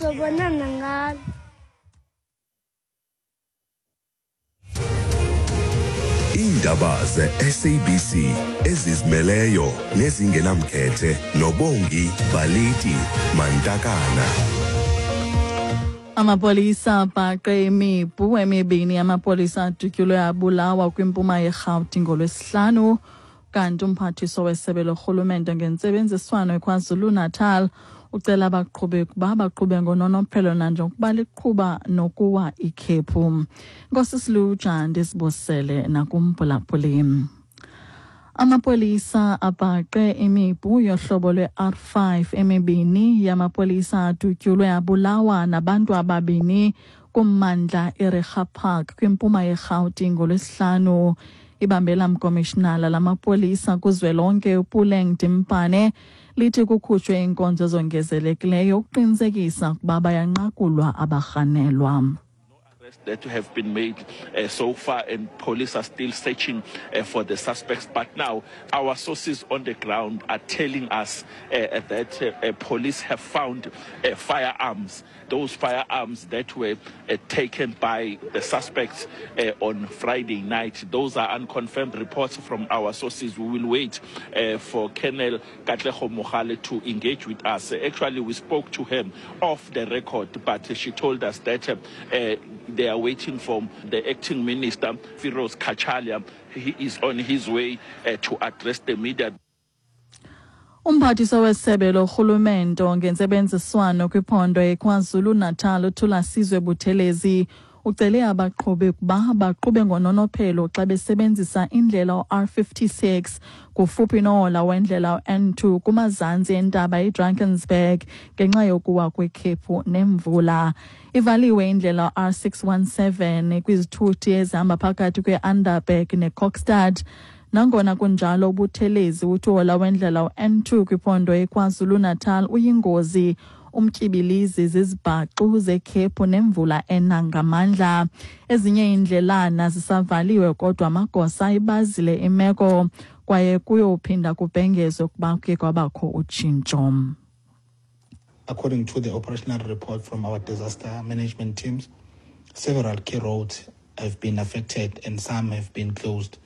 Sobonana ngalo. Iindaba ze-SABC ezizimeleyo nezingenamkhethe noBongi Baliti Mantakana. Amapolisa abhaqe imipu emibini yamapolisa adutyulwe abulawa kwimpuma yeRhawuti ngoLwesihlanu. Kanti umphathiswa wesebe lorhulumente ngentsebenziswano eKwaZulu-Natal ucela abaqhubi ukuba baqhube ngononophelo nanjengokuba liqhuba nokuwa ikhephu. Nkosi Siluja, ndisibusele nakumphulaphuli. Amapolisa abhaqe imipu yohlobo lwe-R5 emibini yamapolisa adutyulwe abulawa nabantu ababini kummandla iReiger Park kwimpuma yeRhawuti ngoLwesihlanu. Ibambela mkomishinala lamapolisa kuzwelonke uPuleng Dimpane lithi kukhutshwe iinkonzo ezongezelekileyo ukuqinisekisa ukuba bayanqakulwa abarhanelwa. That have been made so far, and police are still searching for the suspects. But now our sources on the ground are telling us that police have found firearms, those firearms that were taken by the suspects on Friday night. Those are unconfirmed reports from our sources. We will wait for Colonel Katlego Mogale to engage with us. Actually, we spoke to him off the record, but she told us that they are waiting for the acting minister, Firoz Cachalia. He is on his way to address the media. Umphathiswa wesebe lorhulumento ngentsebenziswano kwiphondo eKwaZulu-Natal uThulasizwe Buthelezi ucele abaqhubi ukuba baqhube ngononophelo xa besebenzisa indlela u-R56 kufuphi nohola wendlela u-N2 kumazantsi entaba iDrakensberg ngenxa yokuwa kwekhephu nemvula. Ivaliwe indlela R617 kwizithuthi ezihamba phakathi kwe-Underberg neKokstad. Nangona kunjalo, uButhelezi uthi uhola wendlela u-N2 kwiphondo eKwaZulu-Natal uyingozi, umtyibilizi zizibhaxu zekhephu nemvula ena ngamandla. Ezinye iindlelana zisavaliwe, kodwa amagosa ayibazile imeko kwaye kuyophinda kubhengezwe ukuba kuye kwabakho utshintsho. According to the operational report from our disaster management teams, several key roads have been affected and some have been closed,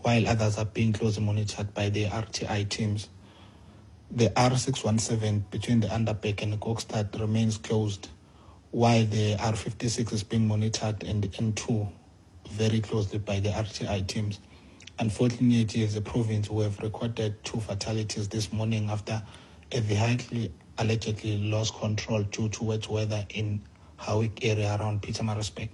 while others are being closely monitored by the RTI teams. The R617 between the Underberg and Kokstad remains closed, while the R56 is being monitored and the N2 very closely by the RTI teams. Unfortunately, as a province, we have recorded 2 fatalities this morning after a vehicle allegedly lost control due to wet weather in Howick area around Pietermaritzburg.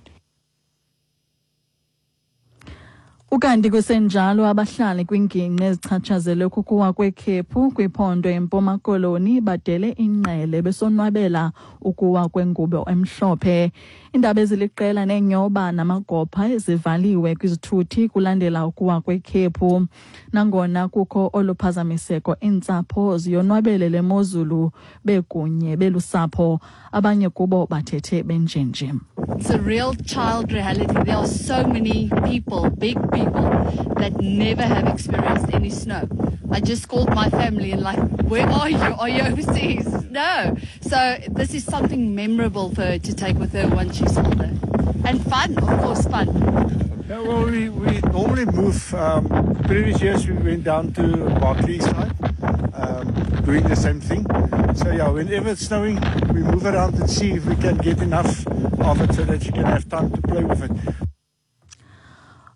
Ukanti kusenjalo, abahlali kwingingqi ezichatshazelwe kukuwa kwekhephu kwiphondo eMpuma Koloni badele ingqele besonwabela ukuwa kwengubo emhlophe. Iindaba eziliqela neenyoba namagopha zivaliwe kwizithuthi kulandela ukuwa kwekhephu. Nangona kukho olu phazamiseko, iintsapho ziyonwabele le mozulu bekunye belusapho. Abanye kubo bathethe benjenje. It's a real child reality. There are so many people, big people, that never have experienced any snow. I just called my family and like, where are you? Are you overseas? No. So this is something memorable for her to take with her once she's older. And fun, of course, fun. Yeah, well, we normally move. Previous years we went down to Barkley side, doing the same thing. So yeah, whenever it's snowing, we move around and see if we can get enough of it so that you can have time to play with it.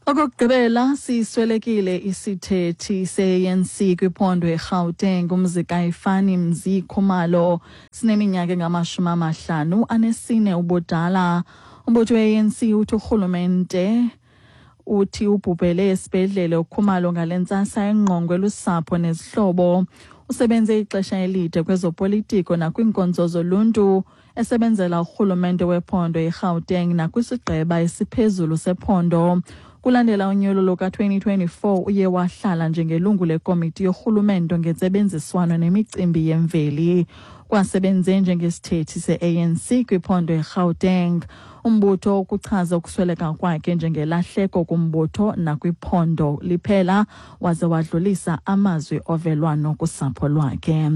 Okokugqibela, siswelekile isithethi se-ANC kwiphondo eGauteng uMzikayifani Mzi Khumalo. Sineminyaka engama-54 ubudala. Umbutho we-ANC uthi urhulumente uthi ubhubhele esibhedlele uKhumalo ngale ntsasa engqongwe lusapho nezihlobo. Usebenze ixesha elide kwezopolitiko nakwiinkonzo zoluntu, esebenzela urhulumente wephondo eGauteng nakwisigqeba esiphezulu sephondo. Kulandela unyulo luka-2024 uye wahlala njengelungu lekomiti yorhulumento ngentsebenziswano nemicimbi yemveli. Kwasebenze njengesithethi se-ANC kwiphondo eGauteng. Umbutho ukuchaza ukusweleka kwakhe njengelahleko kumbutho nakwiphondo liphela, waze wadlulisa amazwi ovelwano kusapho lwakhe.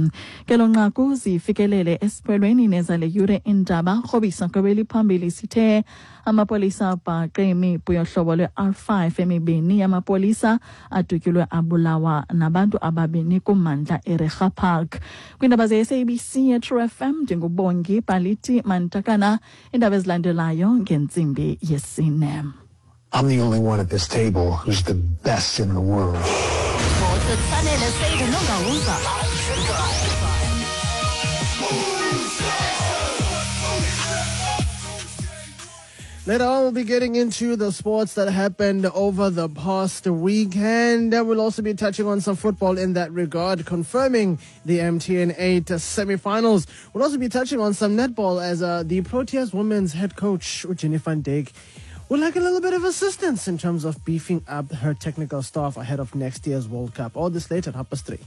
Ngelo nqaku zifikelele esiphelweni nezale yure indaba. Rhobisa kwebeliphambili sithe amapolisa abhaqe imipu yohlobo lwe-R5 emibini yamapolisa adutyulwe abulawa nabantu ababini kummandla eReiger Park. Kwiindaba ze-SABC yeTrue FM, ndinguBongi Baliti Mantakana. Iindaba ezilandelayo ngentsimbi yesine. I'm the only one at this table who's the best in the world. Later on, we'll be getting into the sports that happened over the past weekend. We'll also be touching on some football in that regard, confirming the MTN 8 semi-finals. We'll also be touching on some netball as the Proteas women's head coach, Jenny van Dijk, would like a little bit of assistance in terms of beefing up her technical staff ahead of next year's World Cup. All this later at 3:30.